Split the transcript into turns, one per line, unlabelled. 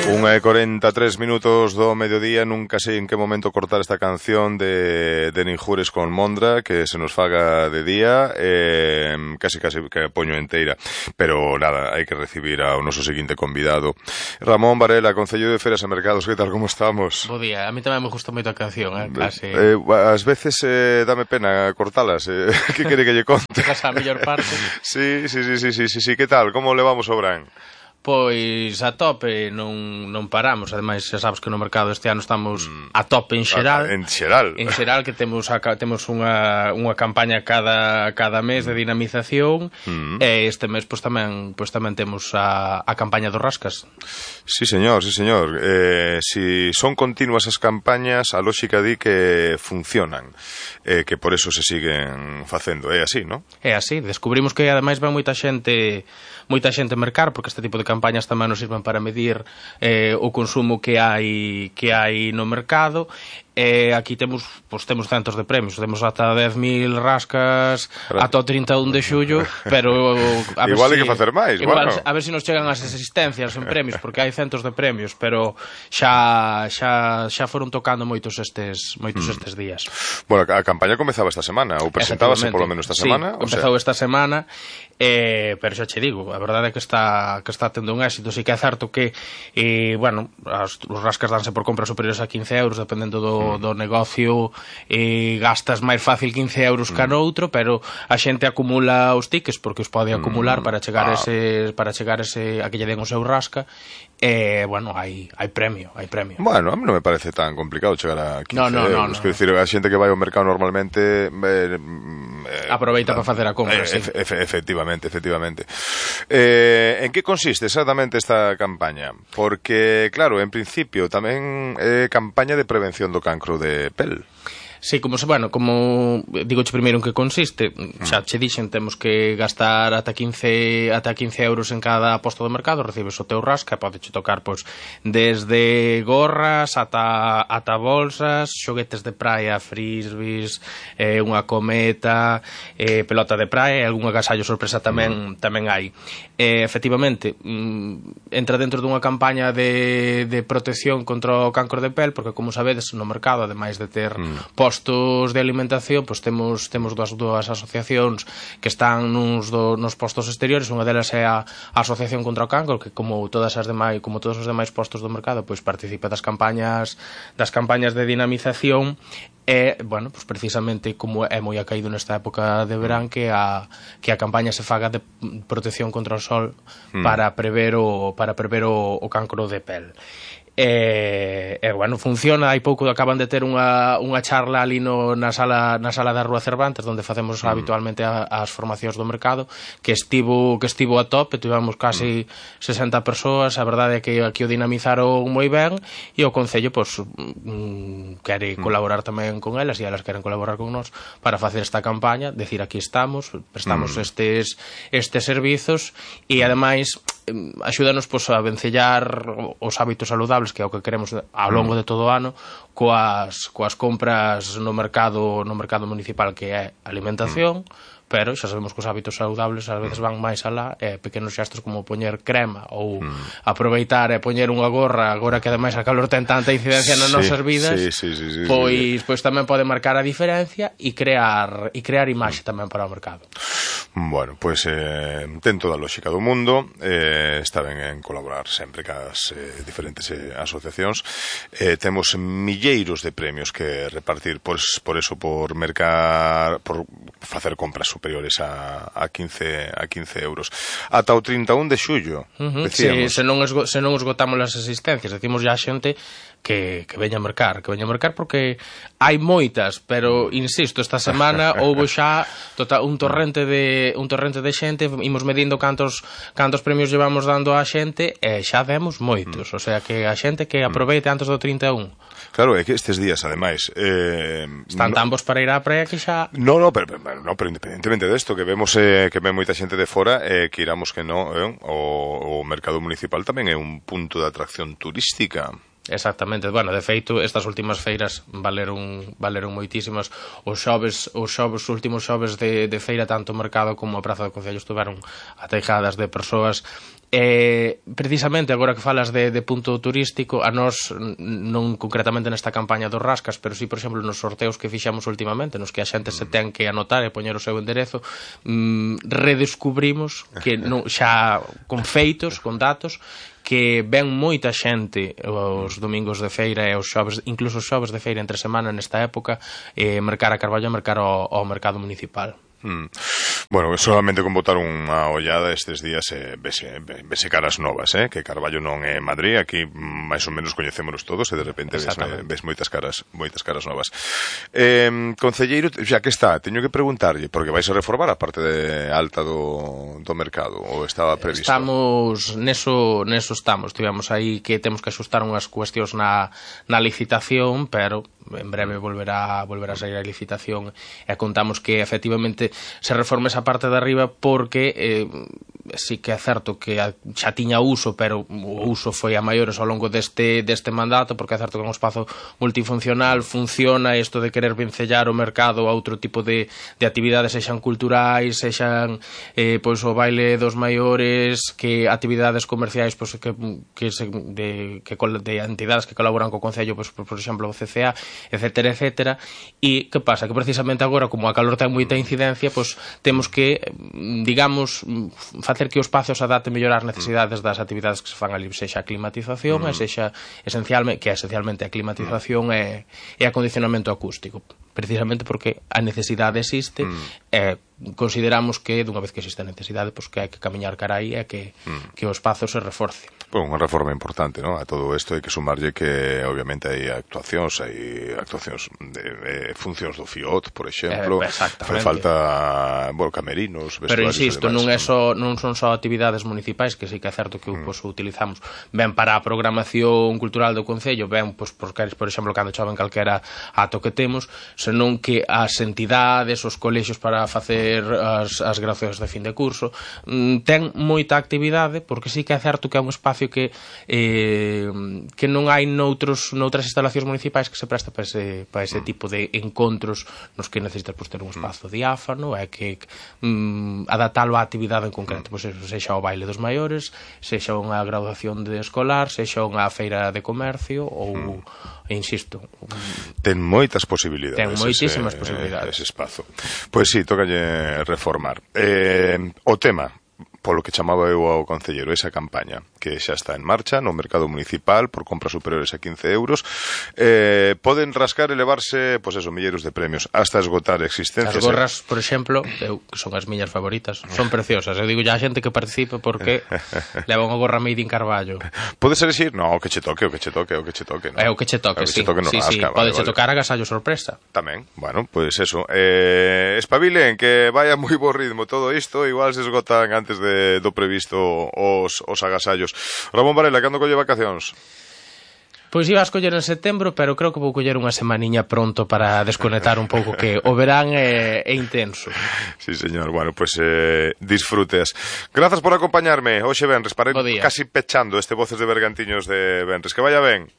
1:43 do mediodía. Nunca sei en que momento cortar esta canción de Ninjures con Mondra, que se nos faga de día, casi que poño enteira. Pero nada, hai que recibir ao noso seguinte convidado, Ramón Varela, Concello de Feras e Mercados. Que tal, como estamos?
Bo día, a mí tamén me gusta moito a canción, casi.
Ás veces dame pena cortalas, que quere que lle conte?
Chegas a mellor parte.
Sí, que tal, como levamos o Bran?
Pois a tope, non paramos. Ademais, xa sabes que no mercado este ano estamos a tope en xeral.
En xeral.
En xeral, que temos unha campaña cada mes de dinamización. E este mes pois tamén temos a campaña dos rascas.
Sí, señor. Si son continuas as campañas, a lógica di que funcionan, que por eso se siguen facendo. É así, non?
É así. Descubrimos que ademais vai moita xente mercar, porque este tipo de campañas tamén nos sirven para medir o consumo que hai no mercado. Aquí temos centos de premios. Temos ata 10.000 rascas ata o 31 de xullo, pero a ver
igual hai que facer máis, bueno.
A ver se nos chegan as existencias en premios, porque hai centos de premios, pero xa foron tocando moitos estes días.
Bueno, a campaña comezaba esta semana, ou presentábase polo menos esta semana.
Sí, empezou esta semana, pero xa che digo, a verdade é que está tendo un éxito. Sí que é certo que os rascas danse por compras superiores a 15 euros, dependendo do negocio, gastas máis fácil 15 euros que noutro, pero a xente acumula os tickets porque os pode acumular para chegar a que lle den o seu rasca. Hai premio.
Bueno, a mí non me parece tan complicado chegar a 15 euros. Quero dicir, a xente que vai ao mercado normalmente
aproveita para facer a compra, sí.
Efectivamente. En que consiste exactamente esta campaña? Porque, claro, en principio tamén é campaña de prevención do cancro de pel.
Sí, como digoche primeiro en que consiste. Xa che dixen, temos que gastar ata 15 euros en cada posto do mercado. Recibes o teu rasca, podeche tocar desde gorras ata bolsas, xoguetes de praia, frisbees, unha cometa, pelota de praia e algún agasallo sorpresa tamén hai. Efectivamente, entra dentro dunha campaña de protección contra o cancro de pel, porque, como sabedes, no mercado, ademais de ter postos de alimentación, pois temos dúas asociacións que están nos postos exteriores. Unha delas é a Asociación contra o Cancro, que como todos os demais postos do mercado, pois participa das campañas de dinamización. E, pois precisamente, como é moi acaído nesta época de verán, que a campaña se faga de protección contra o sol para prever o cancro de pel. Funciona. Hai pouco acaban de ter unha charla ali na sala da Rúa Cervantes, onde facemos habitualmente as formacións do mercado, que estivo a tope. Tivemos casi 60 persoas. A verdade é que aquí o dinamizaron moi ben, e o Concello quere colaborar tamén con elas, e elas queren colaborar con nós para facer esta campaña, decir, aquí estamos, prestamos estes servizos, e ademais axúdanos a vencellar os hábitos saludables, que é o que queremos ao longo de todo o ano, coas compras no mercado municipal, que é alimentación. Pero xa sabemos que os hábitos saludables ás veces van máis alá, pequenos xestos como poñer crema ou aproveitar e poñer unha gorra, agora que ademais a calor ten tanta incidencia nas nosas vidas, pois tamén pode marcar a diferencia e crear imaxe tamén para o mercado.
Bueno, pois ten toda a lógica do mundo. Está ben en colaborar sempre cas diferentes asociacións. Temos milleiros de premios que repartir, por mercar, por facer compras superiores a 15 euros. Ata o 31 de xullo, decíamos.
Se non esgotamos as existencias, decimos ya a xente que veña a mercar, porque hai moitas, pero insisto, esta semana houbo xa un torrente de xente. Imos medindo cantos premios llevamos dando a xente, e xa demos moitos. O sea, que a xente que aproveite antes do 31.
Claro, é que estes días, ademais,
están tan bons para ir á praia que xa...
No, pero independentemente desto, que vemos que ven moita xente de fora, que iramos que non, o mercado municipal tamén é un punto de atracción turística.
Exactamente, de feito, estas últimas feiras valeron moitísimas. Os últimos xoves de feira, tanto o mercado como a Praza do Concello estiveron ateijadas de persoas precisamente agora que falas de punto turístico, a nós non concretamente nesta campaña dos Rascas, pero sí, por exemplo, nos sorteos que fixamos últimamente, nos que a xente se ten que anotar e poñer o seu enderezo, redescubrimos que xa con feitos, con datos, que ven moita xente os domingos de feira e os xoves, incluso os xoves de feira entre semana nesta época, mercar a Carballo e mercar ao mercado municipal.
Bueno, solamente con botar unha ollada estes días vese caras novas, que Carballo non é Madrid, aquí máis ou menos coñecémonos todos e de repente ves moitas caras novas. Concelleiro, xa que está, teño que preguntarlle, porque vais a reformar a parte de alta do mercado, ou estaba previsto?
Estamos, neso estamos, tivemos aí que temos que axustar unhas cuestións na licitación, pero en breve volverá a sair a licitación e contamos que efectivamente se reforme esa parte de arriba porque sí que é certo que xa tiña uso, pero o uso foi a maiores ao longo deste mandato, porque é certo que é un espazo multifuncional, funciona isto de querer vencellar o mercado a outro tipo de actividades, sexan culturais, sexan pois o baile dos maiores, que actividades comerciais pois, de entidades que colaboran co Concello, pois, por exemplo o CCA, etcétera, e que pasa? Que precisamente agora, como a calor ten moita incidencia, pois temos que, digamos, facer que o espazo se adapte mellor ás necesidades das actividades que se fan ali, sexa a climatización, e sexa esencialmente a climatización e acondicionamento acústico, precisamente porque a necesidade existe e consideramos que dunha vez que existe a necesidade, pois que hai que camiñar cara aí e que o espazo se reforce.
Bueno, unha reforma importante, ¿no? A todo isto hai que sumarlle que obviamente hai actuacións de funcións do FIOT, por exemplo, fai falta camerinos, vestuarios.
Pero insisto, non son só actividades municipais, que sí que é certo que o utilizamos ben para a programación cultural do Concello, ben por exemplo cando choven calquera ato que temos, senón que as entidades, os colexios para facer as graduacións de fin de curso ten moita actividade, porque sí que é certo que é un espacio que non hai noutras instalacións municipais que se presta para ese tipo de encontros nos que necesitas ter un espazo diáfano e que adaptalo á actividade en concreto, sexa o baile dos maiores, sexa unha graduación de escolar, sexa unha feira de comercio ou, insisto,
ten moitas posibilidades,
ten moitísimas posibilidades
ese espazo. Pois sí, tócalle reformar o tema polo que chamaba eu ao concelleiro, esa campaña que xa está en marcha no mercado municipal por compras superiores a 15 euros, poden rascar e levarse, pois eso, milleiros de premios hasta esgotar existencias.
As gorras, por exemplo, que son as miñas favoritas, son preciosas. Eu digo ya a xente que participe porque leva unha gorra made in Carballo.
Podes elegir? No, o que che toque, no?
É o que che toque, sí. Sí, podeche tocar agasallo sorpresa.
Tamén, bueno, pois eso. Espabilen, que vaya moi bo ritmo todo isto, igual se esgotan antes do previsto os agasallos. Ramón Varela, cando colle vacacións?
Pois iba a escoller en setembro, pero creo que vou coller unha semaniña pronto para desconectar un pouco, que o verán é intenso.
Sí, señor. Bueno, pois disfrutes. Grazas por acompañarme. Hoxe venres, para ir casi pechando este Voces de Bergantiños de venres. Que vaya ben.